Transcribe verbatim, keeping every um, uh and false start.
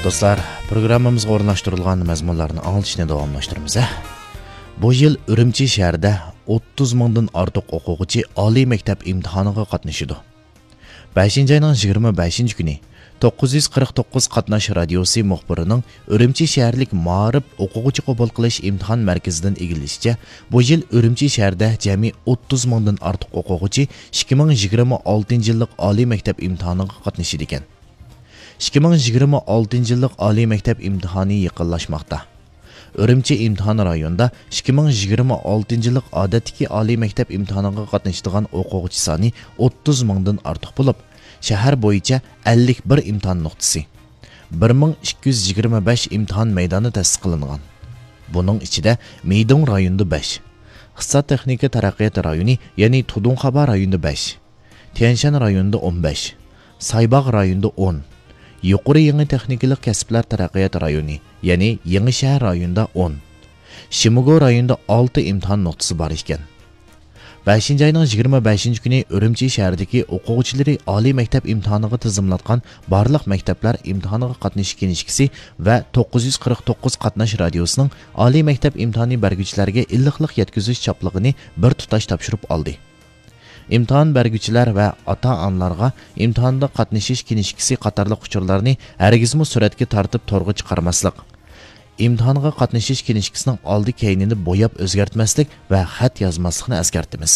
دوستلار، پروگراممىمىزغا ئورۇنلاشتۇرۇلغان مەزمۇنلارنى ئاڭلىتىشنى داۋاملاشتۇرىمىز. بۇ يىل ئۈرۈمچى شەھىرىدە ئوتتۇز مىڭدىن ئارتۇق ئوقۇغۇچى ئالىي مەكتەپ ئىمتىھانىغا قاتنىشىدۇ. بەشىنچى ئاينىڭ يىگىرمە بەشىنچى كۈنى توققۇز يۈز قىرىق توققۇز قاتناش رادىيوسى مۇخبىرىنىڭ ئۈرۈمچى شەھەرلىك مائارىپ ئوقۇغۇچى قوبۇل قىلىش ئىمتىھان مەركىزىدىن ئىگىلىشىچە، بۇ يىل ئۈرۈمچى شەھىرىدە جەمئىي ئوتتۇز مىڭدىن ئارتۇق ئوقۇغۇچى ئىككى مىڭ يىگىرمە ئالتىنچى يىللىق ئالىي مەكتەپ ئىمتىھانىغا قاتنىشىدىكەن. ئىككى مىڭ يىگىرمە ئالتىنچى يىللىق ئالىي مەكتەپ ئىمتىھانى يېقىنلاشماقتا. ئۈرۈمچى ئىمتىھان رايونىدا ئىككى مىڭ يىگىرمە ئالتىنچى يىللىق ئادەتتىكى ئالىي مەكتەپ ئىمتىھانىغا قاتنىشىدىغان ئوقۇغۇچى سانى ئوتتۇز مىڭدىن ئارتۇق بولۇپ، شەھەر بويىچە ئەللىك بىر ئىمتىھان نۇقتىسى، بىر مىڭ ئىككى يۈز يىگىرمە بەش ئىمتىھان مەيدانى تەسىس قىلىنغان. بۇنىڭ ئىچىدە مىدۇڭ رايونىدا بەش، ئىقتىساد تېخنىكا تەرەققىيات رايونى، يەنى تۇدۇڭخابا رايونىدا بەش، تيەنشەن رايونىدا ئون بەش، سايباغ رايونىدا ئون، يۇقىرى يېڭى تېخنىكىلىق كەسىپلەر تەرەققىيات رايونى، يەنى يېڭىشەھەر رايونىدا ئون، شىموگو رايونىدا ئالتە ئىمتىھان نۇقتىسى بار ئىكەن. بەشىنچى ئاينىڭ يىگىرمە بەشىنچى كۈنى ئۈرۈمچى شەھىرىدىكى ئوقۇغۇچىلىرى ئالىي مەكتەپ ئىمتىھانىغا تىزىملاتقان بارلىق مەكتەپلەر ئىمتىھانىغا قاتنىشىش كىنىشكىسى ۋە توققۇز يۈز قىرىق توققۇز قاتناش رادىيوسىنىڭ ئالىي مەكتەپ ئىمتىھانى بەرگۈچىلەرگە ئىللىقلىق يەتكۈزۈش چاپلىقىنى بىر تۇتاش تاپشۇرۇپ ئالدى. ئىمتىھان بەرگۈچىلەر ۋە ئاتا-ئانىلارغا ئىمتىھاندا قاتنىشىش كىنىشكىسى قاتارلىق ئۇچۇرلارنى ھەرگىزمۇ سۈرەتكە تارتىپ تورغا چىقارماسلىق، ئىمتىھانغا قاتنىشىش كىنىشكىسىنىڭ ئالدى كەينىنى بوياپ ئۆزگەرتمەسلىك ۋە خەت يازماسلىقنى ئەسكەرتىمىز.